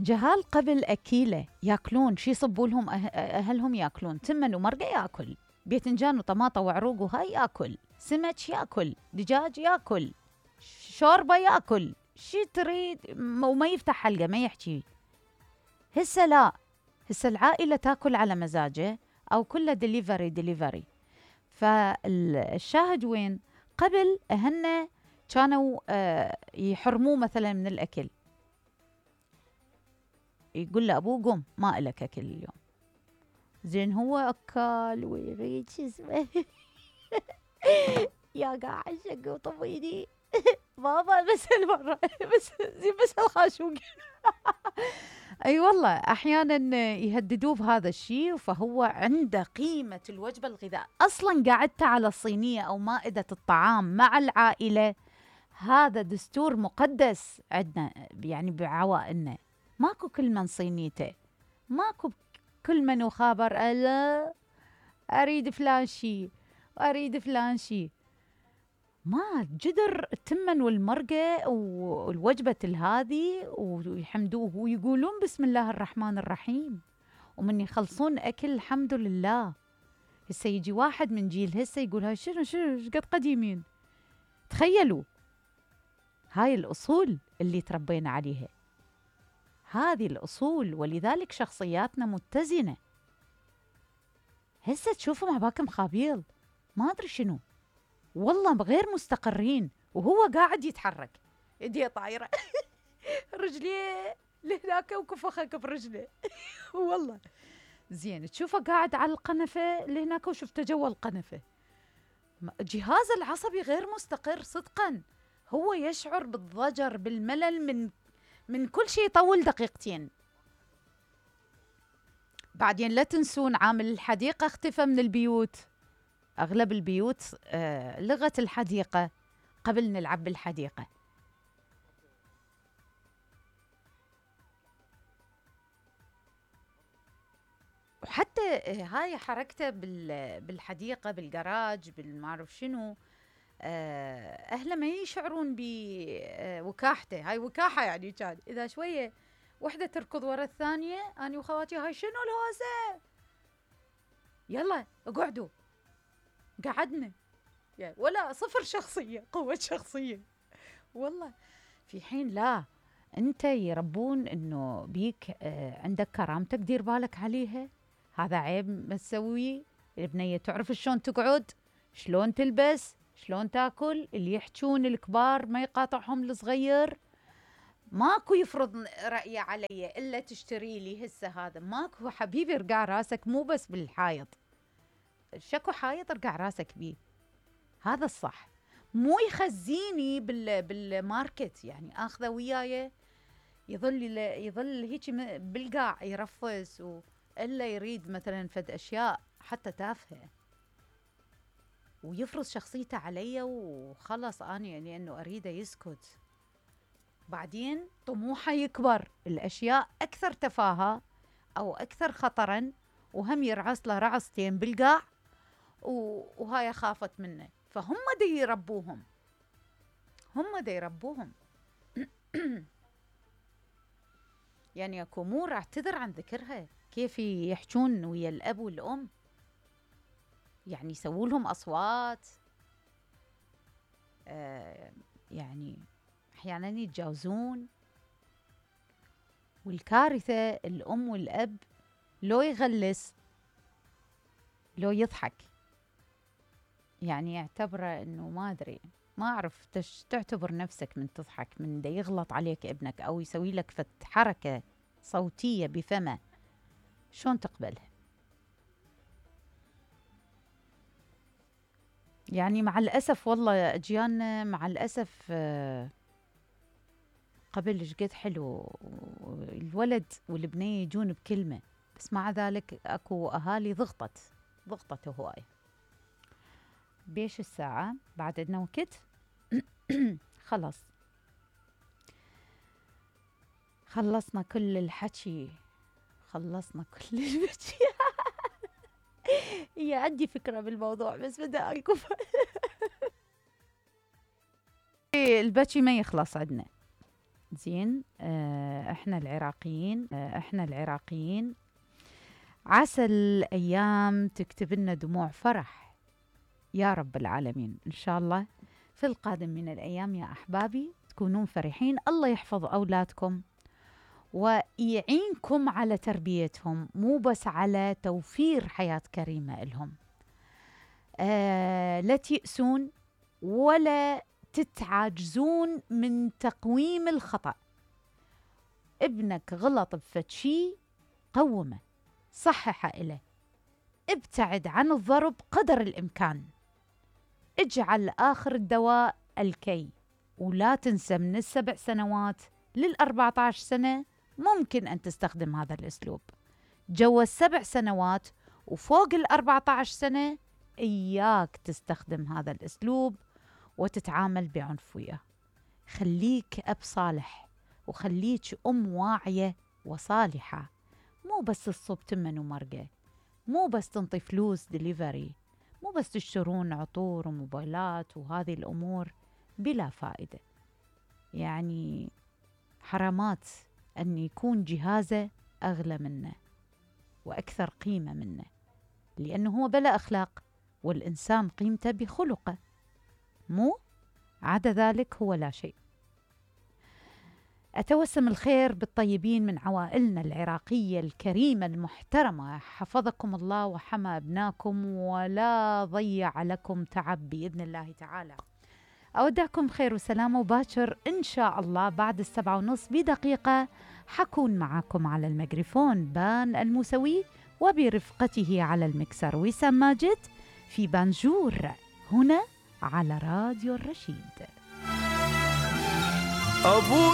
جهال قبل أكيلة ياكلون شي يصبوا لهم أهلهم ياكلون تمن ومرقة ياكل، باذنجان وطماطة وعروق وهاي ياكل، سمك ياكل، دجاج ياكل، شوربة ياكل، شي تريد وما يفتح حلقة ما يحكي. هسه لا، هسه العائلة تاكل على مزاجه أو كله ديليفري ديليفري. فالشاهد وين؟ قبل أهلنا كانوا يحرموه مثلا من الأكل، يقول له أبوه قم ما إلك أكل اليوم. زين هو أكل ويريد شو اسمه يا قاعد شق وطويني بابا بس المرة بس زين بس الخاشوق اي والله احيانا يهددوه بهذا الشيء. فهو عنده قيمة الوجبة الغذاء. اصلا قعدت على الصينية او مائدة الطعام مع العائلة هذا دستور مقدس عندنا، يعني بعوائلنا ماكو كل من صينيته، ماكو كل من وخابر ألا أريد فلان شي أريد فلان شي. ما جدر التمن والمرقة والوجبة هذه ويحمدوه ويقولون بسم الله الرحمن الرحيم، ومن يخلصون أكل الحمد لله. هسه يجي واحد من جيل هسه يقول هاي شنو قد قديمين. تخيلوا هاي الأصول اللي تربينا عليها، هذه الأصول، ولذلك شخصياتنا متزنة. هسه تشوفوا مع باكم خابيل ما أدري شنو، والله غير مستقرين، وهو قاعد يتحرك يديه طايرة رجليه لهناك وكفخك برجله والله زين تشوفه قاعد على القنفة لهناك وشفته جوا القنفة. جهاز العصبي غير مستقر صدقا، هو يشعر بالضجر بالملل من كل شيء يطول دقيقتين. بعدين لا تنسون عامل الحديقة اختفى من البيوت. أغلب البيوت لغت الحديقة، قبل نلعب بالحديقة. وحتى هاي حركته بالحديقة بالجراج بالمعرف شنو، أهله ما يشعرون بوكاحته. هاي وكاحة يعني كان إذا شوية وحدة تركض ورا الثانية أنا وخواتي هاي شنو الهوسة يلا اقعدوا قعدنا، ولا صفر شخصية قوة شخصية والله. في حين لا، أنت يربون إنه بيك عندك كرامتك دير بالك عليها، هذا عيب ما تسويه. البنية تعرف شلون تقعد، شلون تلبس، شلون تاكل. اللي يحجون الكبار ما يقاطعهم الصغير. ماكو يفرض رأيه علي إلا تشتري لي هسه هذا، ماكو حبيبي. ارقع راسك مو بس بالحائط، شكو حائط ارقع راسك بيه، هذا الصح. مو يخزيني بالماركت يعني اخذه وياي يظل هيك بالقاع يرفس الا يريد مثلا فد اشياء حتى تافهه ويفرض شخصيته علي وخلص انا يعني انه اريده يسكت. بعدين طموحه يكبر الاشياء اكثر تفاهه او اكثر خطرا، وهم يرعص له رعصتين بالقاع وهاي خافت منه. فهم دي يربوهم، هم دي يربوهم يعني اكو امور اعتذر عن ذكرها، كيف يحجون ويا الاب والام، يعني يسووا لهم اصوات، يعني احيانا يتجاوزون. والكارثه الام والاب لو يغلس لو يضحك، يعني يعتبره انه ما ادري، ما اعرف تعتبر نفسك من تضحك من دا يغلط عليك ابنك او يسوي لك حركه صوتيه بفمه، شلون تقبلها؟ يعني مع الاسف والله اجيالنا مع الاسف قبل شقد حلو الولد والبنيه يجون بكلمه، بس مع ذلك اكو اهالي ضغطت هواي. بيش الساعة بعد عندنا وقت خلص خلصنا كل الحكي، خلصنا كل الحكي هي عندي فكرة بالموضوع بس بدي أكف البكي ما يخلص عندنا. زين. احنا العراقيين عسى الأيام تكتب لنا دموع فرح يا رب العالمين. إن شاء الله في القادم من الأيام يا أحبابي تكونون فرحين. الله يحفظ أولادكم ويعينكم على تربيتهم، مو بس على توفير حياة كريمة لهم. لا تيأسون ولا تتعاجزون من تقويم الخطأ. ابنك غلط بفتشي، قومه، صحح إله، ابتعد عن الضرب قدر الإمكان، اجعل آخر الدواء الكي. ولا تنسى من 7 سنوات 14 سنة ممكن أن تستخدم هذا الأسلوب. جوا 7 سنوات وفوق 14 سنة إياك تستخدم هذا الأسلوب وتتعامل بعنف وياه. خليك أب صالح وخليك أم واعية وصالحة، مو بس تصب تمن ومرقة، مو بس تنطي فلوس ديليفري، مو بس تشترون عطور وموبايلات وهذه الأمور بلا فائدة. يعني حرامات أن يكون جهازه أغلى منه وأكثر قيمة منه، لأنه هو بلا أخلاق، والإنسان قيمته بخلقه، مو عدا ذلك هو لا شيء. أتوسم الخير بالطيبين من عوائلنا العراقية الكريمة المحترمة. حفظكم الله وحمى أبناكم ولا ضيع لكم تعب بإذن الله تعالى. أودعكم خير وسلامة، وباكر إن شاء الله بعد 7:30 بدقيقة حكون معكم على الميكروفون بان الموسوي، وبرفقته على المكسر وسام ماجد في بانجور هنا على راديو الرشيد.